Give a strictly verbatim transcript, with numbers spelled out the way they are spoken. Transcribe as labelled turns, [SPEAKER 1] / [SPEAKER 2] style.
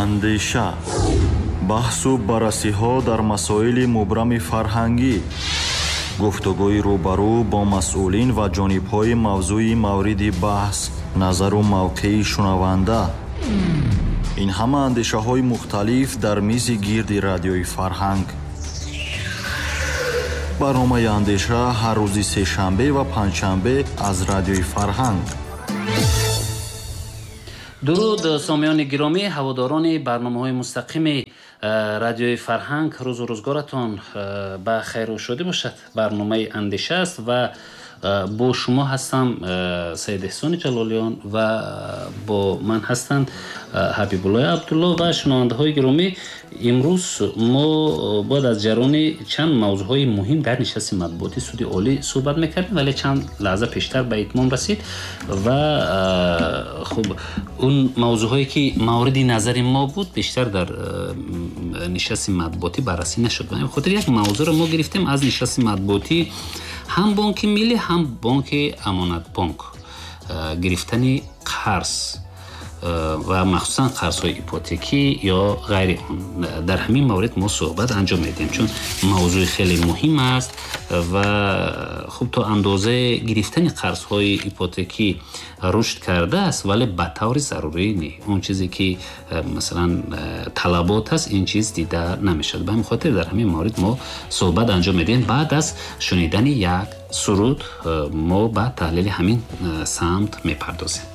[SPEAKER 1] Андеша, баҳсу баррасиҳо дар масоили мубрами фарҳангӣ, гуфтугӯи рӯбарӯ бо масъулин ва ҷонибҳои мавзӯи мавриди баҳс, назару мавқеи шунаванда. Ин ҳама андешаҳои мухталиф дар мизи гирди радиои Фарҳанг. Барномаи Андеша ҳар рӯзи сешанбе ва панҷшанбе аз радиои Фарҳанг.
[SPEAKER 2] Дуруд, сомиёни гиромӣ, ҳаводорони барномаҳои мустақими радиои Фарҳанг. Рӯзу рӯзгоратон ба хайру шодӣ бошад. Барномаи Андеша аст ва бо шумо ҳастам Саид Эҳсони Ҷалолиён ва бо ман ҳастанд Ҳабибуллои Абдулло ва шунавандаҳои гиромӣ. Имрӯз мо бояд аз ҷараёни чанд мавзӯъҳои муҳим дар нишасти матбуоти Суди Олӣ суҳбат мекардем, вале чанд лаҳза пештар ба итмом расид ва хуб, он мавзӯъҳое ки мавриди назари мо буд, бештар дар нишасти матбуотӣ баррасӣ нашуд. Ба ҳамин хотир як мавзӯъро мо гирифтем аз нишасти матбуотӣ ҳам Бонки Миллӣ, ҳам Бонки Амонатбонк, гирифтани қарз ва махсусан қарзҳои ипотекӣ ё ғайри он. Дар ҳамин маврид мо суҳбат анҷом медиҳем, чун мавзӯи хеле муҳим аст ва хуб, то андозаи гирифтани қарзҳои ипотекӣ рушд кардааст, вале ба таври зарурӣ не. Он чизе ки масалан талабот аст, ин чиз дида намешавад. Ба ҳамин хотир дар ҳамин маврид мо суҳбат анҷом медиҳем. Баъд аз шунидани як суруд мо ба таҳлили ҳамин самт мепардозем.